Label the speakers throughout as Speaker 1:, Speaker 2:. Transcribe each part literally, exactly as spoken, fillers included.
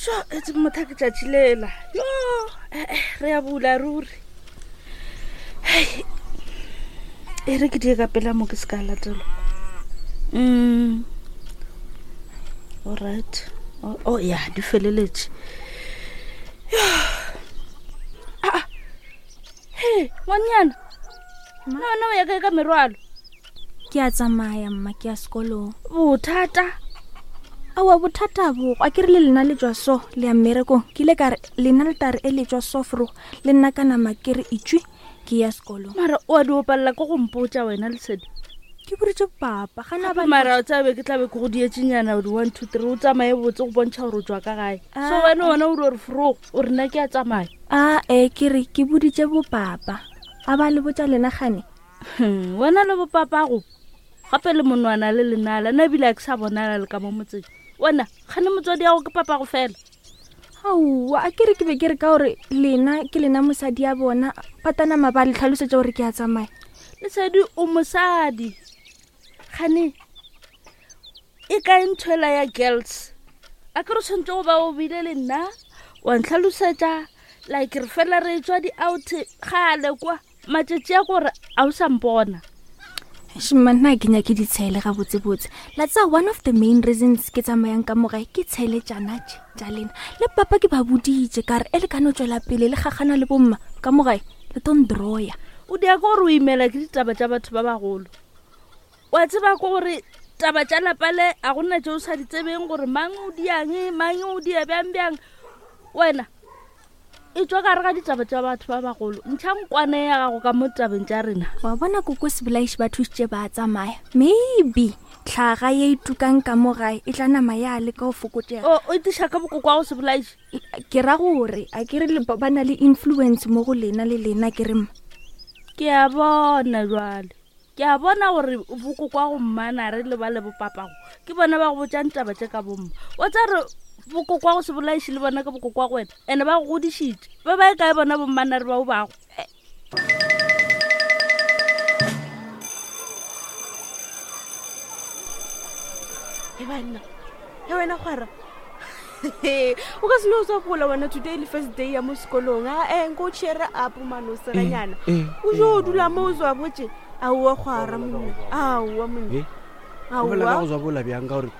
Speaker 1: So etse motho ke tšatši lela. Yo, eh, eh, re ya bula ruri. Hei, e re ke die ka pela mo ke se ka latelwa. Mm. Alright. Oh, oh ya, di feleletše. Yo. Ah. Hey, ngwanyana. No, no, ya kae ka merwalo?
Speaker 2: Ke a tsamaya mma, ke ya sekolong.
Speaker 1: Bothata.
Speaker 2: Aowa bothata bo, a ke re le lena le tšwa so le ya mmerekong. Ke ile ka re lena le tare e le tšwa so fro, le nna ka nama ke re itšwe ke ya sekolong.
Speaker 1: Mara o a di opalela ke go mpotša wena Lesedi.
Speaker 2: Ke boditše papa, ga na ba
Speaker 1: Mara o tsabe ke tlabe ke go dietšenyana di one two three o tsamaye botse go bontšha gore o tswa ka gae. So wena wena o di gore fro o re nna ke a tsamaya.
Speaker 2: A e ke re ke boditše bo papa. A ba le botša lena gane?
Speaker 1: Hmm, wena le bopapago gape le monwana le lenala nna ebile a ke sa bonala le ka mo motseng. Wena gane motswadi yago ke papago fela.
Speaker 2: Aowa, a ke re ke be ke re ka gore lena ke lena mosadi ya bona, patanama ba le tlhalosetša gore ke a tsamaya.
Speaker 1: Lesedi o mosadi. Gane e kae ntho ela ya girls? A ke re tshwanetse go ba o bile le nna wa ntlhalosetša like re fela re tswa di-out gale kwa matšatši a gore a o sa mpona.
Speaker 2: Shma, nna ke nyake ditshele gabotsebotse. La tseba one of the main reasons ke tsamayang ka mo gae ke tshele tšana tše tša lena. Le papa ke ba boditše ka re e le ka no tšwela pele le gagana le bomma ka mo gae le tlo ndroya.
Speaker 1: O dia ke gore o imela ke ditaba tša batho ba bagolo. Wa tseba ke gore taba tša lapa le a gona tše o sa di tsebeng gore mang o diang, mang o dia bjang bjang. Wena e tswa ka gare ga ditaba tša batho ba bagolo. Ntšha nkwane ya gago ka mo tabeng tša rena.
Speaker 2: Wa bona koko Sebolaiši ba thušitše ba tsamaya. Maybe tlhaga ye e tukang ka mo gae e tla nama ya leka go fokotšega.
Speaker 1: O, o itiša ka bokoko wa go Sebolaiši?
Speaker 2: Ke ra gore a ke re le ba na le influence mo go lena le lena ke re mma.
Speaker 1: Ke a bona jwale. Ke a bona gore bokoko wa go mmana re le ba le bopapago ke bona ba go botšang taba tše ka bomma. Wa tsa re bokoko wa go Sebolaiši le bona ke bokoko wa go wena, ene ba go godišitše. Ba ba e kae bona bommana re bao bago?
Speaker 3: E banna, e wena kgwara. O ka se no tswa gola wena today le first day ya mo sekolong. A eh nko o cheer up mano seganyana. O jo dula mo o tswa botse. Aowa kgwara monna. Aowa monna.
Speaker 4: O bolela ka go tswa bola bjang ka gore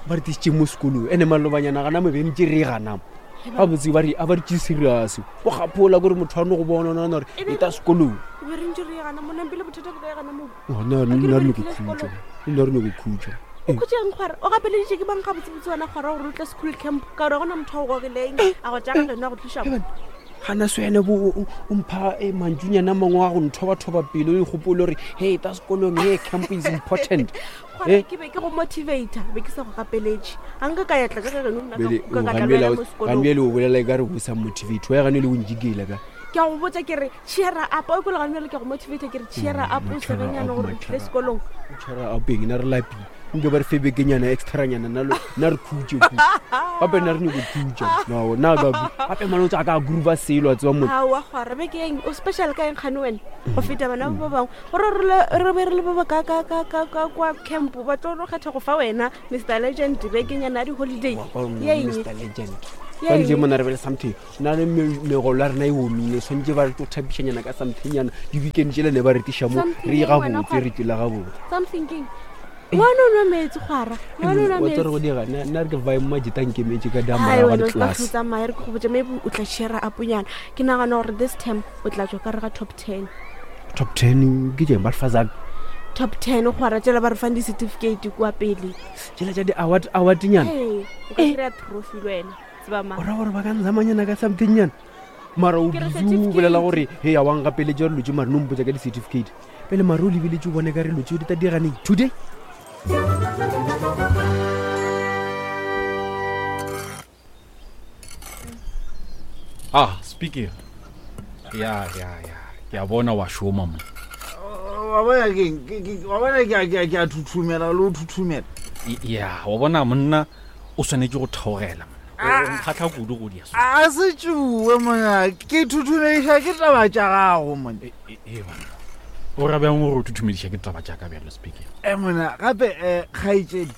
Speaker 4: ba re tišitše mo sekolong ene malobanyana gana mo be ntse re gana. Ga botse ba re a ba re tše serious. O gapola gore motho a no go bona ona gore e ta sekolong.
Speaker 3: Be re ntse re gana monna pele bothata bo ka gana mo.
Speaker 4: Ona nna re no go khutša. Nna re no go khutša.
Speaker 3: O khutšeng kgwara? O gapeleditše ke bang ga botsebotse wena kgwara gore o tle school camp ka gore gona motho a go gogileng a go tšaka lena go tliša mo.
Speaker 4: Gana se wena bo o mpha e mantšunyana mangwe a go nthobathoba pelo o ikgopole gore hey ta sekolong hey camp is important.
Speaker 3: Kgwara ke be ke go motivator, be ke sa go gapeletše. A nka ka ya tla ka ge nna ka ka ka tla lwela mo sekolong.
Speaker 4: Gane le o bolela e ka re o sa motivate, wa gane le o njikela ka.
Speaker 3: Ke a go botša ke re cheer up, o ikole gane le ke go motivate ke re cheer up o segenyana gore o tle sekolong.
Speaker 4: Cheer up eng na re lapile. Nke ba re fe bekenyana extra nyana nna lo nna re khutše ku. Gape nna re nyako khutša. No, nna ka gape mane o tswa ka groove selo a tseba motho.
Speaker 3: Aowa kgwara beke eng o special ka eng kgane wena go feta bana ba bangwe. Gore re le re be re le ba ba ka ka ka ka ka kwa camp ba tlo no kgetha go fa wena Mister Legend bekenyana ya di-holiday.
Speaker 4: Ye eng? Mister Legend. Ba ntse mona re bele something. Nna le megolo ya rena e omile, tshwanetse ba re tlo thapišanyana ka something nyana. Di-weekend tšela ne ba re tiša mo, re ye gabotse, re tšwela gabotse.
Speaker 3: Something keng? Ngwana o nwa metsi kgwara. Ngwana o nwa
Speaker 4: Wa
Speaker 3: metsi.
Speaker 4: tseba gore go dira, nna, nna re ke vibe majita nkemetse ka dama
Speaker 3: Hai,
Speaker 4: ya
Speaker 3: wena o
Speaker 4: ga class.
Speaker 3: tla tsamaya re ke go botša maybe o tla share up nyana. Ke nagana gore this term o tla tswa ka re ga top ten.
Speaker 4: Top ten ke tšeng ba re fa zang?
Speaker 3: Top ten kgwara tšela ba re fang di-certificate kua pele.
Speaker 4: Tšela tša di-award, award nyana.
Speaker 3: Hey, o ka kry-a trophy le wena. Tseba mang.
Speaker 4: O ra gore ba ka nzamanyana ka something nyana. Mara o
Speaker 3: Ke re
Speaker 4: busy o bolela
Speaker 3: certificate.
Speaker 4: gore he a wa ngapeletša re lotše mare no mpotša ka di-certificate. Pele mare o lebeletše o bone ka re lotše di tla diraneng today.
Speaker 5: Ah, speaker. Ya, ya, ya. Ke a bona wa šoma mo.
Speaker 6: Wa bona keng? Ke, ke, wa bona ke a, ke a, ke a thuthumela le ho thuthumela.
Speaker 5: Ya, wa bona monna o swanetše go theogela monna. O nkgahla kudu go dia so.
Speaker 6: A se tšue monna, ke thuthumediša ke taba tša gago monna.
Speaker 5: E, e, e, banna. O ra bjang gore o thuthumediša ke taba tša ka bjalo speaker?
Speaker 6: Eh, monna, gape, eh, kgaetšedi.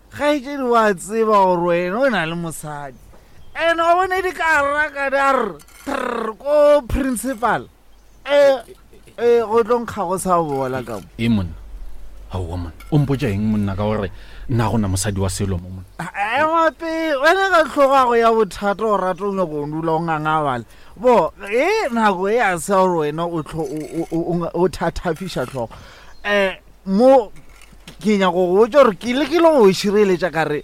Speaker 6: Kgaetšedi wa tseba gore wena o na le mosadi. And wa bone di ka raka di a re trr ko principal. Eh eh go tlo nkga go sa bola ka mo.
Speaker 5: E monna aowa monna o mpotsa eng monna ka gore nna gona mosadi wa selo mo monna
Speaker 6: Ema pele wena ka tlhogago ya bothata o rata o nyako o dula o ngangabala. Bo e nako e a se gore wena o tlo o- o o- o thathafiša tlhogo. Eh mo ke nyako go botša gore ke lekile go o šireletša ka re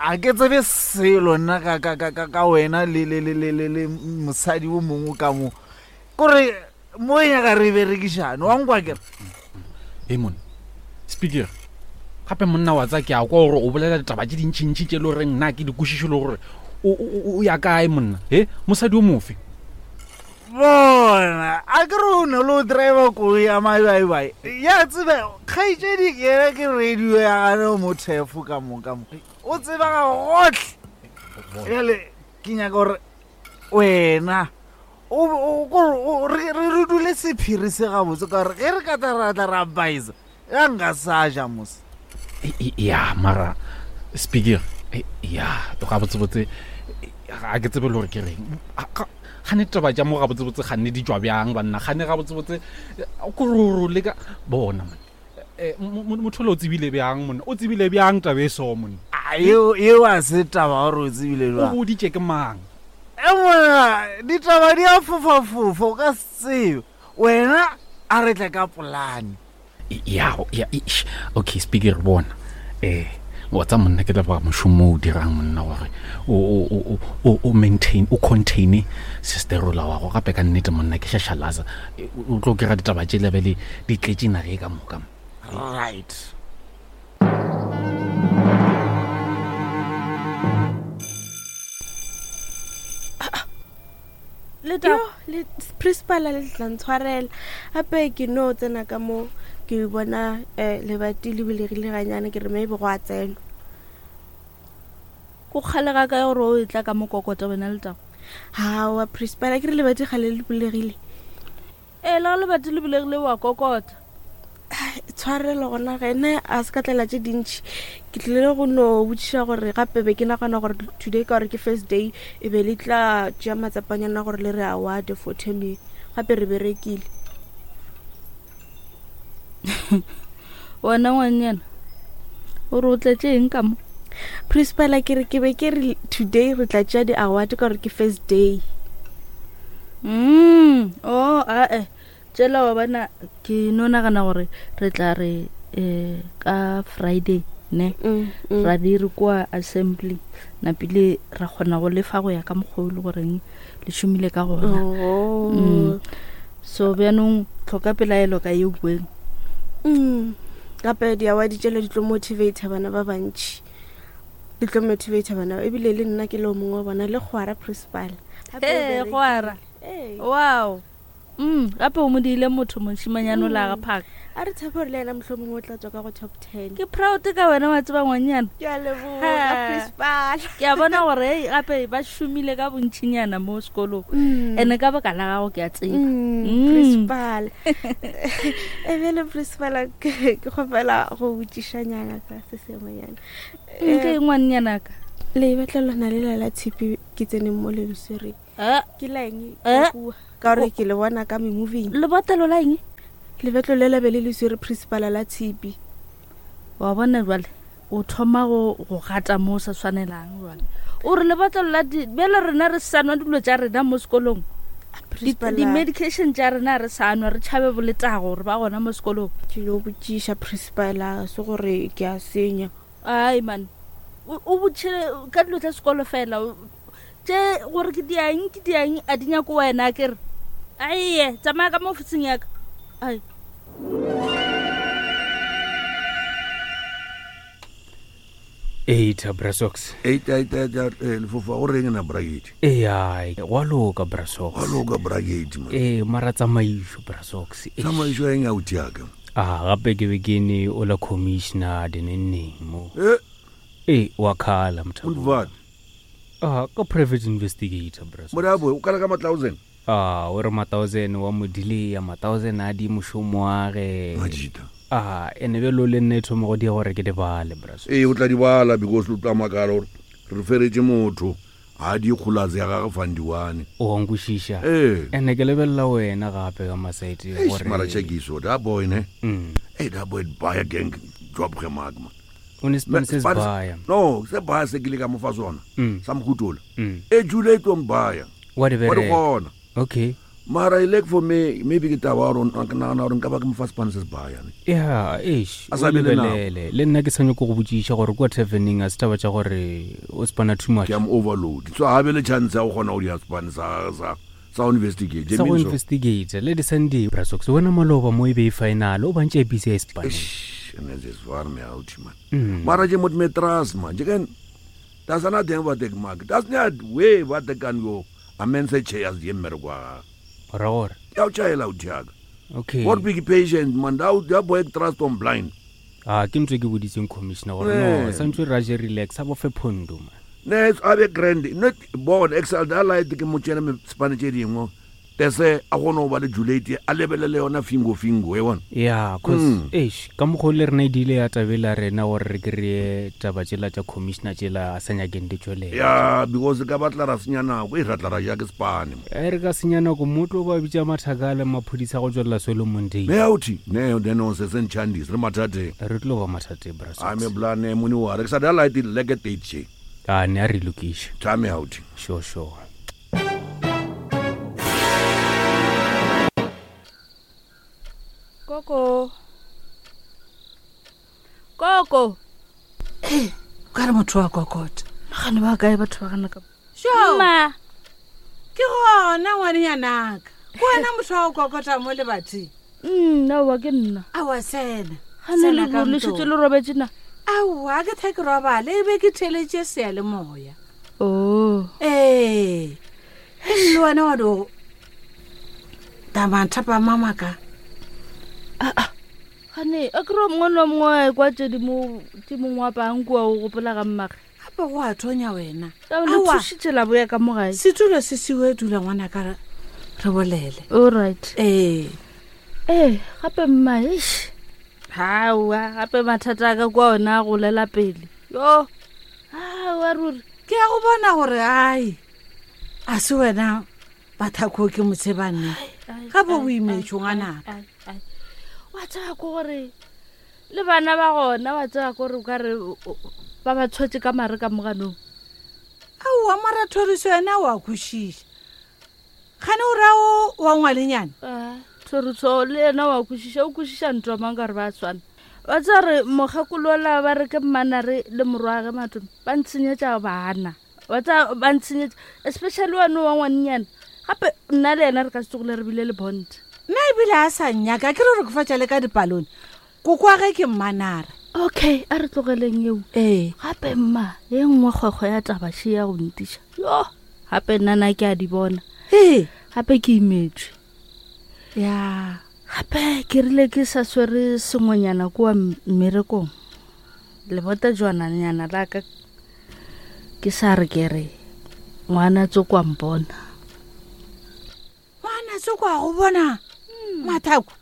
Speaker 6: a ke tsebe selo nna ka ka ka ka ka wena le le le le le le mosadi o mongwe ka mo. Kore mo e nyaka re berekišane wa nkwa kere.
Speaker 5: E monna speaker gape monna wa tsa ke a kwa gore o bolela ditaba tše dintšintši tše le goreng nna ke di kwešiše le gore o o- o ya kae monna he mosadi o mofe
Speaker 6: Bona a ke re o ne le o driver koloi ya mabaibai ya tsebe kgaetšedi ke yena ke radio ya gane o mo thefo ka mo ka mo o tseba ga gotlhe bjale ke nyaka gore wena o o- kore o- re re re dule sephiri se gabotse ka gore ge re ka tla ra tla ra baisa ya nka sa ja mose
Speaker 5: E- e- ya mara speaker e- ya gabotsebotse ga ke tsebe le gore ke reng A- ga- gane taba tša mo gabotsebotse ganne di tswa bjang banna gane gabotsebotse kororo le ka bona monna Eh, mo- mo- motho le o tsebile bjang monna o tsebile bjang taba e so monna
Speaker 6: A, eo eo a se taba gore o tsebile
Speaker 5: o
Speaker 6: jwang
Speaker 5: boditše ke mang
Speaker 6: e monna ditaba di a fofafofa o ka se tsebe wena a re tle ka polane
Speaker 5: ya ya eish. Okay speaker bona eh wa tsa monna ke leboga mošomo o o dirang monna gore o o- o- o o maintain o contain sisterola wa go gape ka nnete monna ke šašalaza E, o o tlo kry-a ditaba tše lebele di tletše nage ka moka
Speaker 6: right
Speaker 1: Letago
Speaker 3: Yo, le principal le tla ntshwarela gape ke no tsena ka mo ke bona um lebati le bulegile ganyane ke re maybe go a tsenwa
Speaker 1: ko kgale ga kae gore o e tla ka mokokota wena Letago
Speaker 3: hawa principal a ke re lebati gale le bulegile
Speaker 1: ee le ga lebati le bulegile wa kokota
Speaker 3: tshwarelo gona ge nna a se ka tlela tše dintšhi ke tlile go no botšiša gore gape be ke nagana gore today ka gore ke first day e be le tla tšea matsapanyana gore le re award for terming gape re berekile
Speaker 1: wena ngwannyana o re o tletse eng ka mo
Speaker 3: principal a ke re ke be ke re today re tla tšea di-award ka gore ke first day
Speaker 1: mm o ae tšela wa bona ke no nagana gore re tla re um ka Friday ne
Speaker 3: Mm, mm.
Speaker 1: ra di re kua assembly napile ra kgona go lefa go ya ka mokgwa o le goreng le šomile ka gona
Speaker 3: Oh.
Speaker 1: Mm. So bjanong tlhoka pelaelo ka yeo bueng
Speaker 3: Mm. Gape di-award tšela di tlo motivate bana ba bantšhi di tlo motivate bana ebile le nna ke le o mongwe wa bona le kgwara principal Gape o
Speaker 1: ee
Speaker 3: berekile.
Speaker 1: goara
Speaker 3: Ee.
Speaker 1: wow mm gape o mo diile motho mošimanyane o la ga phaka
Speaker 3: a re tshepe gore le ena motlho mongwe o tla tswa ka go top ten
Speaker 1: ke proud ka wena wa tseba ngwannyana
Speaker 3: ke a leboga
Speaker 1: Ha.
Speaker 3: principal
Speaker 1: ke a bona gore ei gape ba šomile ka bontšhinyana mo sekolong
Speaker 3: Mm.
Speaker 1: and-e ka baka la gago ke a tseba
Speaker 3: Mm,
Speaker 1: Mm.
Speaker 3: principal ebele principal ke ke kgopela go botšišanyana ka se sengwenyana
Speaker 1: nke
Speaker 3: Eh,
Speaker 1: ngwannyanaka
Speaker 3: le batla lona le la la tshipi ke tseneng mo le leswereng ke la eng
Speaker 1: Eh?
Speaker 3: ka kua? Ka gore ke le bona ka memoving
Speaker 1: lebotlelo la eng
Speaker 3: lebetlo le labe le leswere principal la tshipi
Speaker 1: wa bona jale o thoma go go gata mo o sa tshwanelang jale o re lebotlelo la di- bjale rena re sa nwa dilo tša rena mo sekolong Di-
Speaker 3: Principal,
Speaker 1: di-medication tša rena re sa nwa re tšhabe boletago gore ba gona mo sekolong
Speaker 3: ke no botšiša principal a se gore ke a senya
Speaker 1: ai man o o botšhile ka dilo tša sekolo fela o- tše gore ke diang ke diang a di nyako wena kere aie tsamaya ka mo ofising yaka ai
Speaker 4: Eita Brasox.
Speaker 7: Eight, eight, eight, eight, eh, lefofa go reng na bracket
Speaker 4: Eya, gwa loka Brasox.
Speaker 7: gwa loka bracket man
Speaker 4: Ee, mara tsamaišo Brasox. Eish.
Speaker 7: tsamaišo ya eng auti yaka
Speaker 4: Ah, gape ke be ke ne o la commissioner dinenneng mo.
Speaker 7: e
Speaker 4: Ee, wa khala motho.
Speaker 7: Boulevard
Speaker 4: Ah, ka private investigator Brasox.
Speaker 7: morabo o kala ka ma-thousand
Speaker 4: Ah, o re ma-thousand wa mo delaya, ma-thousand a di mošomo wa ge.
Speaker 7: majita
Speaker 4: Ah, ene bjalo le nna e thoma go dia gore ke di bale Brasox.
Speaker 7: ee o tla di bala because o tla makala gore re feretše motho Ga di kgolaze ya gage fandiwane.
Speaker 4: O a nkwešiša.
Speaker 7: Ee.
Speaker 4: Ene ke lebelela wena gape ka masaete
Speaker 7: Eish,
Speaker 4: gore
Speaker 7: mara chekiso da boy ne.
Speaker 4: Mm.
Speaker 7: Hey, da boy baya gang job ge mark man.
Speaker 4: O ne spane se
Speaker 7: Spane-
Speaker 4: baya.
Speaker 7: No, se baya se ke le ka mo fa sona.
Speaker 4: Mm.
Speaker 7: Sa mokhutola.
Speaker 4: Mm.
Speaker 7: E jule e tlo mbaya.
Speaker 4: Wa di
Speaker 7: Wa di
Speaker 4: bereka.
Speaker 7: kgona.
Speaker 4: Okay.
Speaker 7: Mara e like for me maybe ke taba ya gore ke nagana gore nka ba ke mo fa spane se se baya ne.
Speaker 4: Ya, eish,
Speaker 7: A
Speaker 4: o
Speaker 7: sa be le nako.
Speaker 4: lebelele. Le nna ke sa nyako go botšiša gore kwa taverneng a se taba tša gore o spana too much.
Speaker 7: Ke am overload. So ha be le chance ya go kgona go dia spane sa sa sa investigate.
Speaker 4: Sa go investigate le di Sunday Brasox wena maloba mo e be e final o bantše a busy a e spaneng.
Speaker 7: Ene se swar me out man.
Speaker 4: Mm.
Speaker 7: Mara je mot metras man. Je kan Das ana teng ba tek mark. Das ne we ba tek kan yo. Amen se che as ye mmereko wa gagwe.
Speaker 4: Ora gore.
Speaker 7: Ya o tšhaela o thiaka.
Speaker 4: Okay.
Speaker 7: What big patient man da da boy trust on blind.
Speaker 4: Ah, ke ntho e ke boditseng commissioner gore no,
Speaker 7: Eh.
Speaker 4: santse ra je relax a bo fe phondo man.
Speaker 7: Ne a be grand not born excel da light ke mo tšena me spane tše dingwe. Tese a gone go ba le Juliet a lebelele yona fingo fingo e bona.
Speaker 4: Ya, cause
Speaker 7: Mm.
Speaker 4: eish, ka mokgwa o le rena e dile ya tabela rena gore re kry-e taba tšela tša commissioner tšela a sa nyakeng di tšwelela.
Speaker 7: Ya because ka batla ra senya nako e ratla ra ja ke spane.
Speaker 4: E re ka senya nako motlo ba bitša mathaka le maphodisa go tswelela Solomon Day.
Speaker 7: Ne authi ne then on se sentšhandis re mathateng.
Speaker 4: Re tlo ba mathateng Brasox.
Speaker 7: A me blane mone wa re ke sa da light leke date che.
Speaker 4: Ah, ne a re lokiše.
Speaker 7: Time out.
Speaker 4: Sure, sure.
Speaker 1: Koko. Koko.
Speaker 8: Ee, o ka re motho wa kokota.
Speaker 1: Gane ba kae batho ba gana ka.
Speaker 8: Sure.
Speaker 1: Mma.
Speaker 8: Ke gona ngwanenyanaka. Ke wena motho wa go kokota mo lebating.
Speaker 1: Mm, aowa ke nna.
Speaker 8: Aowa sena.
Speaker 1: Gane
Speaker 8: Sena
Speaker 1: le
Speaker 8: ka
Speaker 1: le
Speaker 8: ntong.
Speaker 1: šetše le robetše na.
Speaker 8: Aowa ke tha ke robale e be ke theletše seyalemoya.
Speaker 1: Oh.
Speaker 8: Ee. E le wena wa do tamathapama maka.
Speaker 1: Gane a kry mongwe le mongwe kwa tše di mo tše mongwe wa pang kua o gopola ga mmage.
Speaker 8: Gape go a thonya wena.
Speaker 1: Ka le
Speaker 8: Aowa.
Speaker 1: thušitše la boya ka mo gae.
Speaker 8: Setulo se siwe dula ngwanaka re re bolele.
Speaker 1: All right.
Speaker 8: Ee.
Speaker 1: Ee, gape mma eish. Hawa, gape mathata a ka kwa ona a golela pele. Yo. Hawa ruri.
Speaker 8: Ke a go bona gore ai a se wena bathako ke motshebanne. Gape o imetšwe ngwanaka.
Speaker 1: Ai, ai. Wa tseba ko gore le bana ba gona wa tseba ko gore o ka re o- o- ba ba tshwetse ka mare ka moganong.
Speaker 8: Aowa mara thoriso yena o a kwešiša. Gane o rao wa ngwalenyana.
Speaker 1: Ah, Thoriso le yena wa kwešiša o kwešiša ntwa mang ka gore ba tshwana. Wa tseba re mokgekolola ba re ke mmanare le morwage matome ba ntshenyetša bana. Wa tseba ba ntshenyetša especially wane wa ngwanenyana. Gape nna le yena re ka se tsogile re bile le bond.
Speaker 8: Nna ebile a sa nnyaka ke re re kofatša le ka dipalone. Koko wa ge ke mmanare.
Speaker 1: Okay, a re tlogeleng eo.
Speaker 8: Ee.
Speaker 1: Gape mma, ye nngwe kgwekgwe ya taba še ya go ntiša. Yo, gape nna na ke a di bona.
Speaker 8: Ee.
Speaker 1: Gape ke imetswe.
Speaker 8: Ya.
Speaker 1: Gape ke rile ke sa swere sengwenyana kua m- mmerekong. Lebota jwananyana la ka ke sa re ke re ngwana tsoko a mpona.
Speaker 8: Ngwana tsoko a go bona. Mathako.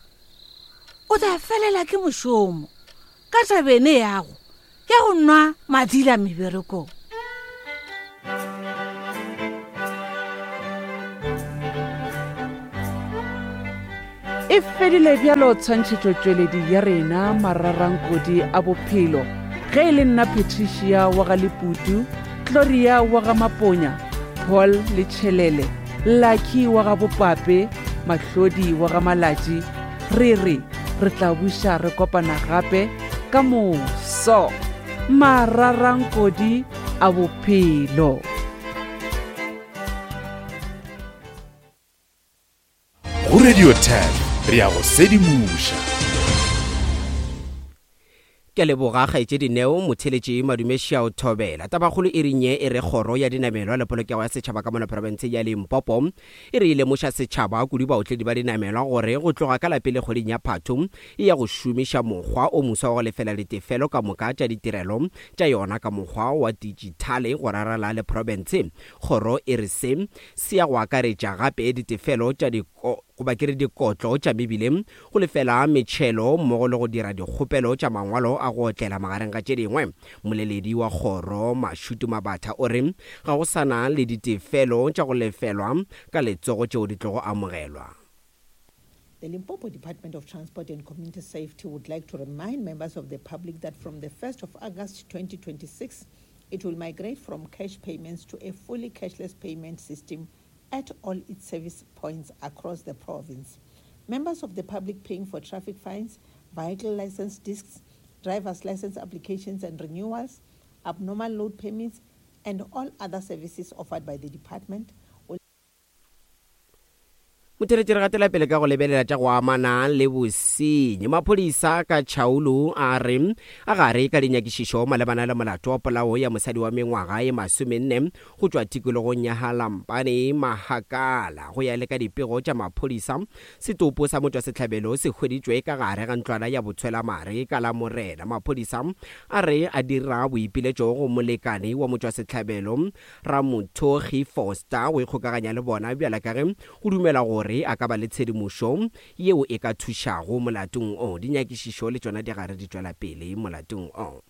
Speaker 8: O tla felela ke mošomo. Ka tabene yago ya go nwa madila meberekong.
Speaker 9: E fedile bjalo tshwantšhetšotšweledi ya rena mararankodi a bophelo ge e le nna Patricia wa ga Leputu, Gloria wa ga Maponya, Paul le Tšhelele, Lucky wa ga Bopape, Mahlodi wa ga Malatši, re re re tla buša re kopana gape ka moso. Mararankodi a bophelo.
Speaker 10: Go Radio ten re ya go sedimoša.
Speaker 11: Ke a leboga kgaetšedi Neo motheletši Madumešia o thobela. Tabakgolo e renye e re kgoro ya dinamelwa le polokego ya setšhaba ka mona profense ya Limpopo e re e lemoša setšhaba kudu baotledi ba dinamelwa gore go tloga ka lapele kgweding ya Phatho e ya go šomiša mokgwa o moswa wa go lefela ditefelo ka moka tša ditirelo tša yona ka mokgwa wa dijithale go rarala le profense. Kgoro e re se se ya go akaretša gape ditefelo tša di goba ke re dikotlo tša mebileng, go lefela metšhelo mmogo le go dira dikgopelo tša mangwalo a go otlela magareng ga tše dingwe. Mmoleledi wa kgoro Mashudu Mabatha o re ga go sa na le ditefelo tša go lefelwa ka letsogo tšeo di tlogo amogelwa.
Speaker 12: The Limpopo Department of Transport and Community Safety would like to remind members of the public that from the first of August twenty twenty-six, it will migrate from cash payments to a fully cashless payment system at all its service points across the province. Members of the public paying for traffic fines, vehicle license discs, driver's license applications and renewals, abnormal load permits, and all other services offered by the department.
Speaker 11: Motheletši re gatela pele ka go lebelela tša go amana le bosenyi. Maphodisa ka Chaulu a re a gare ka dinyakišišo malebana le molato wa polao ya mosadi wa mengwaga e masomenne go tšwa tikologong ya Halampane Mahakala. Go ya le ka dipego tša maphodisa, setopo sa motšwasehlabelo se hweditšwe ka gare ga ntlwana ya botshwelamare ka la Morena. Maphodisa a re a dira boipiletšo go molekane wa motšwasehlabelo Ramothogi Foster go ikgokaganya le bona bjala ka ge go dumela gore a ka ba le tshedimošo yeo e ka thušago molatong o. Dinyakišišo le tšona di gare di tšwela pele molatong o.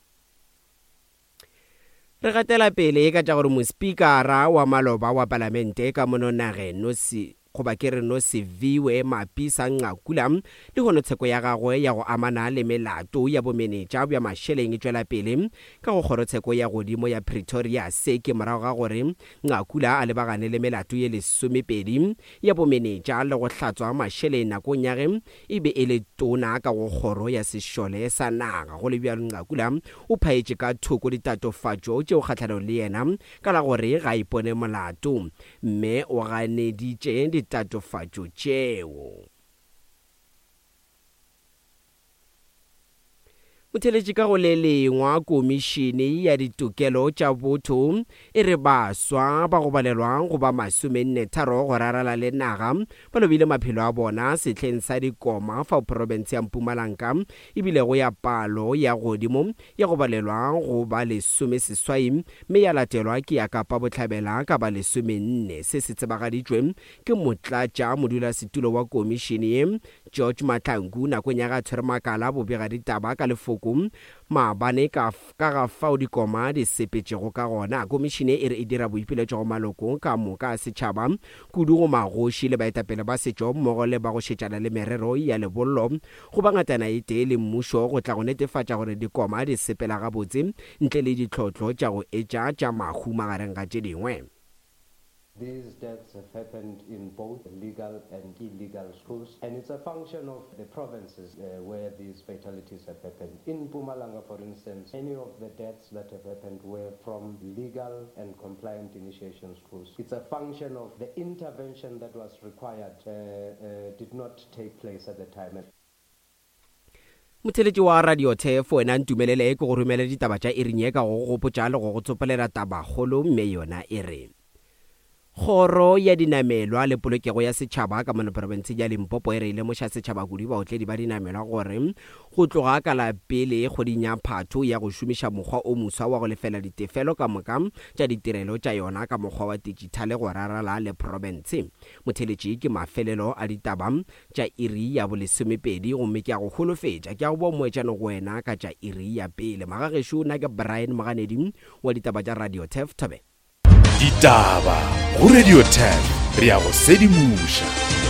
Speaker 11: Re gatela pele ka tša gore mospikara wa maloba wa palamente ka mono nageng Nosi goba ke re Nosiviwe Mapisa Nqakula le hono tsheko ya gagwe ya go amana le melato ya bomenetša bja mašeleng e tšwela pele ka go kgorotsheko ya godimo ya Pretoria. Se ke morago ga gore Nqakula a lebagane le melato ye lesomepedi ya bomenetša le go hlatswa mašeleng nakong ya ge e be e le tona ka go kgoro ya sešole sa naga. Go le bjalo, Nqakula o phaetše ka thoko ditatofatšo tšeo kgahlanong le yena ka la gore ga ipone molato, mme o ganeditše ditatofatšo tšeo. Motheletši ka go le lengwa, komišene ya ditokelo tša botho e re baswa ba go balelwa go ba masomenne tharo go rarala le naga ba lobile maphelo a bona sehleng sa dikoma fao profense ya Mpumalanga ebile go ya palo ya godimo ya go balelwa go ba lesome seswai mme ya latelwa ke ya Kapa Bohlabela ka ba lesomenne. Se se tsebagaditšwe ke motlatša modulasetulo wa komišene ye George Mahlangu nakong ya ga tshwere makala bobega ditaba ka lefoko maabane ka ka ga fao dikoma di sepetšego ka gona. Komišene e re e dira boipiletšo go maloko ka moka a setšhaba, kudu go magoši le baetapele ba setšo mmogo le ba go šetšana le merero ya lebollo go ba ngatana e tee le mmušo go tla go netefatša gore dikoma di sepela gabotse ntle le ditlhotlo tša go etša tša mahu magareng ga tše dingwe.
Speaker 13: These deaths have happened in both legal and illegal schools, and it's a function of the provinces uh, where these fatalities have happened. In Mpumalanga, for instance, many of the deaths that have happened were from legal and compliant initiation schools. It's a function of the intervention that was required uh, uh, did not take place at the time.
Speaker 11: Motheletši wa Radio Thef wena ntumelele ke go romela ditaba tša iring ye ka go gopotša le go go tsopolela tabakgolo, mme yona e re Kgoro ya dinamelwa le polokego ya setšhaba ka mono profenseng ya Limpopo e re lemoša setšhaba kudu baotledi ba dinamelwa gore go tloga ka la pele kgweding ya Phatho ya go šomiša mokgwa o moswa wa go lefela ditefelo ka moka tša ditirelo tša yona ka mokgwa wa digitale go rarala le profense. Motheletši ke mafelelo a ditaba tša iri ya bolesomepedi gomme ke a go holofetša ke a go boa moetšano go wena ka tša iri ya pele. Magagešo nna ke Brian Moganedi wa ditaba tša Radio Thef Thobe.
Speaker 10: Ditaba go Radio Thef re ya go sedimoša.